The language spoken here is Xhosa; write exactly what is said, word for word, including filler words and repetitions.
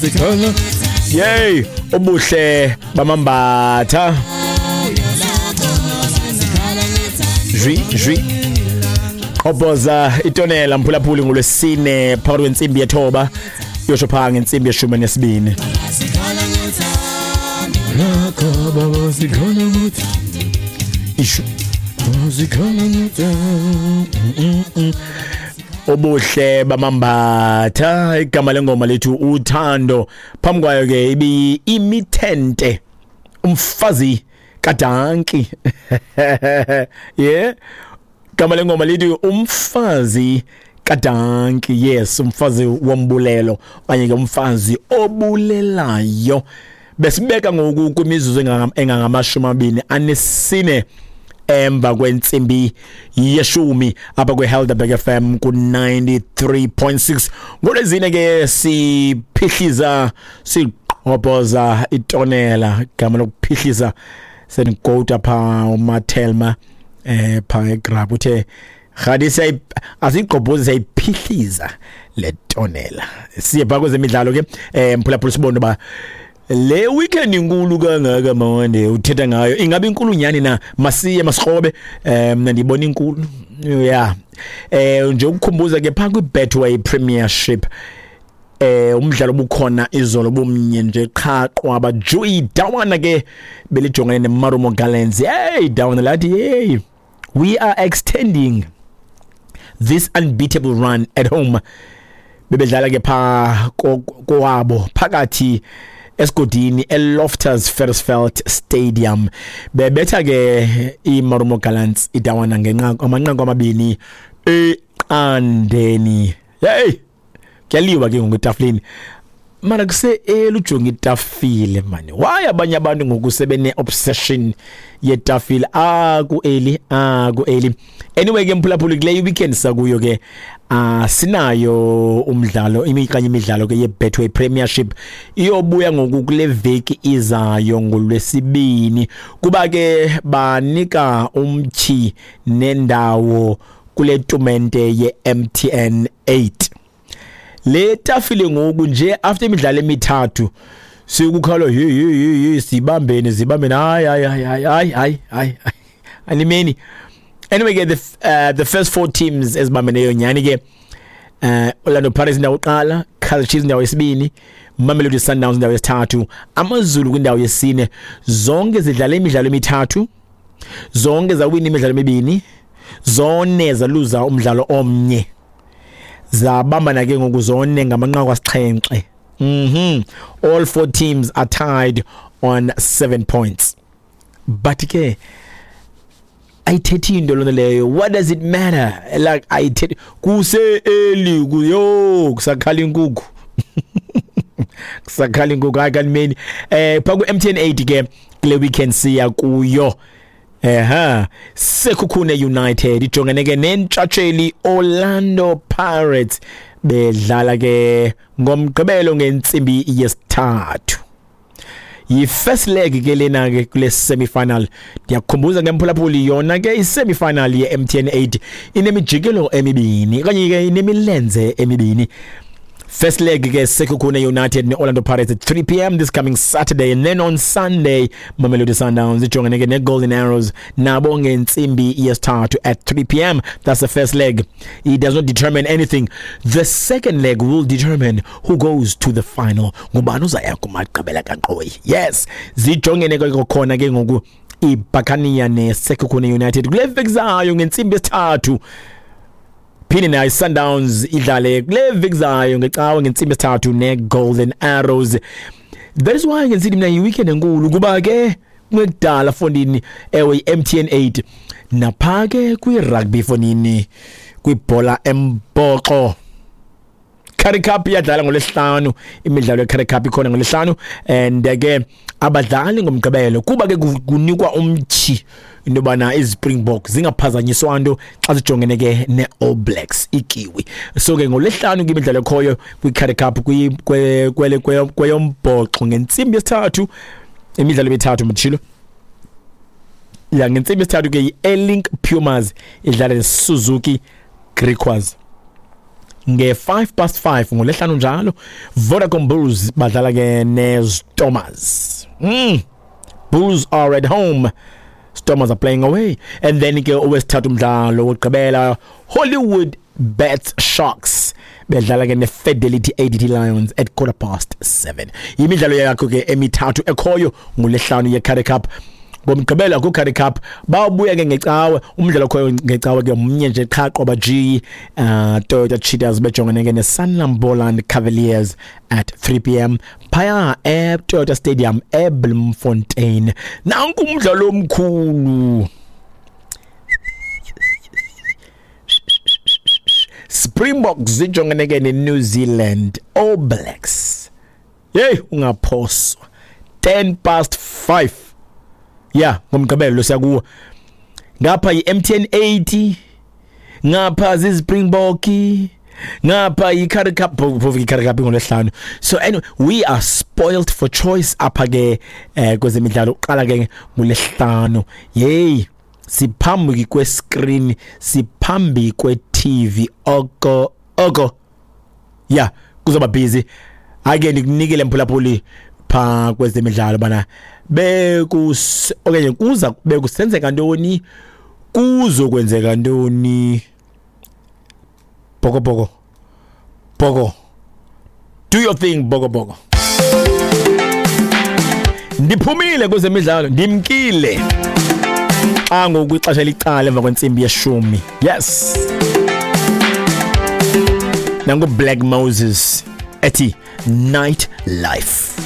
Sikhala. Yey, ubuhle bamambatha. Jwi jwi. Qobhoza itonela mphulaphuli ngolwesine phakathi kwentsimbi yethoba yosho pha ngentsimbi yeshumi nesibini. Ishu. Obuhle bamambatha, igama lengoma lethu uthando. Phambi kwayo ke ibi imithente umfazi kaDanki. Yeah, igama lengoma lethu umfazi kaDanki. Yes, umfazi wombulelo okanye ke umfazi obulelayo. Besibeka ngoku kwimizuzu engangamashumi amabini anesine emva kwentsimbi yeshumi apha kwe-Helderberg F M ku-ninety-three point six. Ngolwezine ke siphihliza siqhobhoza itonela, igama lokuphihliza senigota pha uMathelma eh pha egrab uthe khadi siyayi asigqobhozi siyayiphihliza le tonela. Siye pha kwezemidlalo ke eh mphulaphula sibone ba le weekend inkulu kangaka mawande uthetha ngayo, ingabe inkulu nyani na? Masiye masikrobe eh mina ndibona inkulu. Yeah, eh nje ukukhumbuza ke pha kwi-Betway Premiership eh umdlalo obukhona izolo bomnye nje qha qwaba Joey Dawana ke belijongene neMarumo Gallants. Hey Dawana lathi hey, we are extending this unbeatable run at home. Bebedlala ke pha kowabo phakathi esigodini eLoftus Versfeld Stadium. Bebetha ke iMarumo Gallants iDawana ngenqaku amanqaku amabini eqandeni. Hey, kuyaliwa ke ngoku etafileni. Mara kuse elujonga itafile mani. Why abanye abantu ngoku sebene obsession yetafile? Ah ku early, ah ku early. Anyway ke mphulaphuli kule weekend sakuyo ke ah sinayo umdlalo imikanye imidlalo ke yeBetway Premiership iyobuya ngoku kule veki izayo ngolwesibini, kuba ke banika umtyhi nendawo kule tumente ye-M T N eight. Le tafile ngoku nje after imidlalo emithathu sikukhala hey hey hey sibambene sibambene hayi hayi hayi hayi hayi hayi animeni. Anyway ke the uh, the first four teams ezibambeneyo nyani ke uh, Orlando Pirates indawo yokuqala, Kaizer Chiefs indawo yesibini, Mamelodi Sundowns indawo yesithathu, AmaZulu kwindawo yesine. Zonke zidlala imidlalo emithathu, zonke zawina imidlalo emibini, zone zaluza umdlalo omnye. Zabambana ke ngoku zone ngamanqaku asixhenxe. Mhm. All four teams are tied on seven points. But ke ayithethi into lona leyo. What does it matter? Like ayithethi kuse early kuyo kusakhala inkukhu. Kusakhala inkukhu hayi kanimeni. Eh pha ku M T N eight ke kule weekend siya kuyo. Eha, Sekhukhune United ijongene ke nentshatsheli Orlando Pirates bedlala ke ngomgqibelo ngentsimbi yesithathu. Yi-first leg ke lena ke kule semi-final. Ndiyakukhumbuza ngemphulaphuli yona ke i-semi-final ye-M T N eight inemijikelo emibini okanye ke inemilenze emibini. First leg ke Sekhukhune United ne-Orlando Pirates at three p m this coming Saturday, and then on Sunday Mamelodi Sundowns ijongene ke ne-Golden Arrows nabo ngentsimbi yesithathu at three p m. That's the first leg. It does not determine anything. The second leg will determine who goes to the final. Ngubani uzaya kumagqibela kaNqoyi. Yes, zijongene ke khona ke ngoku iBuccaneer ne-Sekhukhune United kule veki zayo ngentsimbi yesithathu. Phinde nayo Sundowns idlale kule veki zayo ngecawe ngentsimbi yesithathu ne-Golden Arrows. That is why ngisithi mina yi-weekend enkulu kuba ke kungekudala fondini ewe i-M T N eight napha ke kwi-rugby fondini kwibhola embhoxo. Currie Cup iyadlala ngolwesihlanu, imidlalo ye-Currie Cup ikhona ngolwesihlanu and ke abadlali ngomgqibelo kuba ke kunikwa umtyhi into yobana iZpringbok zingaphazanyiswa nto xa zijongene ke ne-All Blacks ikiwi. So ke ngolwesihlanu ke imidlalo ekhoyo kwi-Currie Cup kweyombhoxo ngentsimbi yesithathu, imidlalo emithathu mtshilo. Ya ngentsimbi yesithathu ke i-Airlink Pumas idlala neSuzuki Griquas. nge-five past five ngolesihlanu njalo. Vodacom Bulls badlala ke neStormers. mm. Bulls are at home, Stormers are playing away. And then ke owesithathu umdlalo wokugqibela, Hollywood Bets Sharks bedlala ke neFidelity A D T Lions at quarter past seven. Imidlalo yakho ke emithathu ekhoyo ngolesihlanu yeCurrie Cup. Ngomgqibelo ku-Currie Cup, bawubuya ke ngecawe. Umdlalo okhoyo ngecawe ke mnye nje qha, qoba G, uh, Toyota Cheetahs bejongene ke neSanlam Boland Cavaliers at three p m phaya eToyota Stadium eBloemfontein. Nanku umdlalo omkhulu, Springboks zijongene ke neNew Zealand All Blacks. Hey, ungaphoswa, ten past five ya ngomgqibelo siyakuwo. Ngapha yi-M T N eighty, ngapha ziZpringbok, ngapha yi-Currie Cup, phofu i-Currie Cup ngolwesihlanu. So anyway, we are spoiled for choice apha ke eh kwezemidlalo. Uqala ke ngolwesihlanu. Yey, siphambi kwe-screen, siphambi kwe-T V oko oko. Ya, kuzoba busy. Ake ndikunikele, mphulaphuli, pha kwezemidlalo bana bekus okanye kuza bekusenzeka ntoni, kuzokwenzeka ntoni. Bhoko bhoko bhoko, do your thing, bhoko bhoko. Ndiphumile kwezemidlalo, ndimkile xa ngoku ixesha licala emva kwentsimbi yeshumi. Yes, nangu Black Moses ethi Night Life.